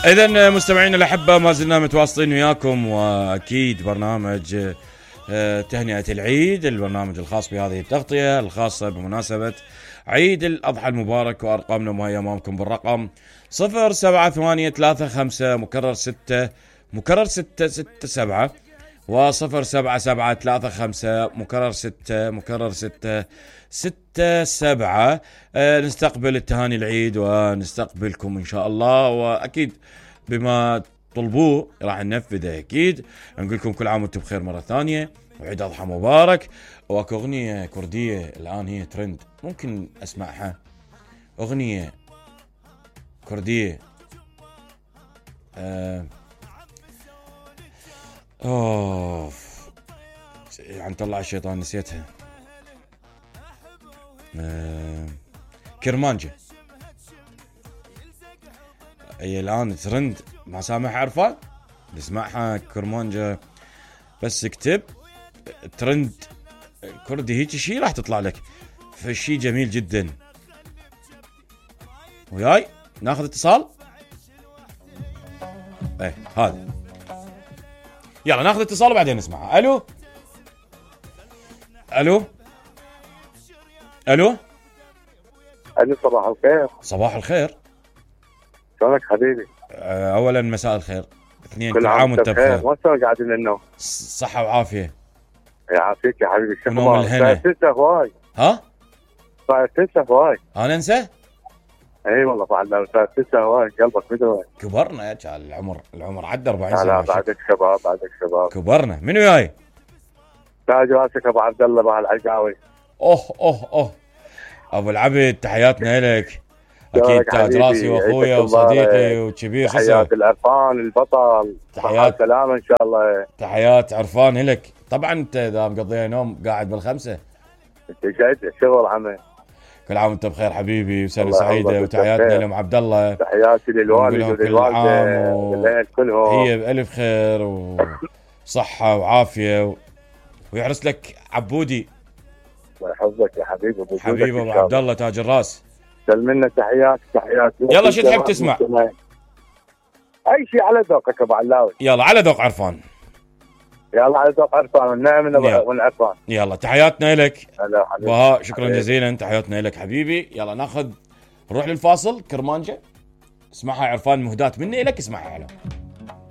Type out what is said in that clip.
إذن مستمعينا الأحبة ما زلنا متواصلين وياكم، وأكيد برنامج تهنئة العيد، البرنامج الخاص بهذه التغطية الخاصة بمناسبة عيد الأضحى المبارك. وأرقامنا وهي أمامكم بالرقم 07835 مكرر 6 مكرر 667 و07735 مكرر 6 مكرر 667. نستقبل التهاني العيد ونستقبلكم إن شاء الله، وأكيد بما طلبوه راح ننفذه. أكيد نقول لكم كل عام وانتم بخير مرة ثانية، وعيد أضحى مبارك. واكو أغنية كردية الآن هي ترند، ممكن أسمعها. أغنية كردية يعني طلع الشيطان نسيتها. كرمانجة هي الآن ترند، ما سامح عرفان نسمعها. كرمانجة بس اكتب ترند كردي هيك شيء راح تطلع لك، فشي جميل جدا. وياي ناخذ اتصال. هذا يلا ناخذ اتصال وبعدين نسمعها. الو الو الو الو، صباح الخير. صباح الخير، شلونك حبيبي؟ اولا مساء الخير، اثنين كل عام وانت بخير. وين قاعدين النوم؟ صحة وعافية. يعافيك يا حبيبي. شو ونوم الهنا. تنسى هواي. ها؟ صاير تنسى هواي. انا انسى؟ اي والله فعلا صاير تنسى هواي، قلبك مدوي. كبرنا يا العمر عدى 40 سنة. لا بعدك شباب، بعدك شباب. كبرنا. منو جاي؟ تاج راسك ابو عبد الله بهالعقاوي. اوه ابو العبد، تحياتنا لك. اكيد تاج راسي واخويا وصديقي وكبير. تحيات العرفان البطل، تحيات سلامه ان شاء الله. تحيات عرفان لك. طبعا انت اذا مقضيها نوم قاعد بالخمسة، انت قاعد شغل عمل. كل عام وانت بخير حبيبي، وسنه سعيده. وتحياتنا لام عبد الله، تحياتي للوالد وللوالده والاهل كلهم، هي بالف خير وصحه وعافيه ويحرس لك عبودي. الله يحفظك يا حبيبي. حبيبي ابو عبد الله تاج الراس، سلم لنا تحيات. يلا شو تحب تسمع؟ اي شيء على ذوقك ابو علاوي. يلا على ذوق عرفان. يلا على ذوق عرفان والنعم من عرفان. يلا تحياتنا لك بهاء، شكرا حبيبي. جزيلا، تحياتنا لك حبيبي. يلا نروح للفاصل. كرمانجة اسمعها عرفان، مهدات مني لك، اسمعها.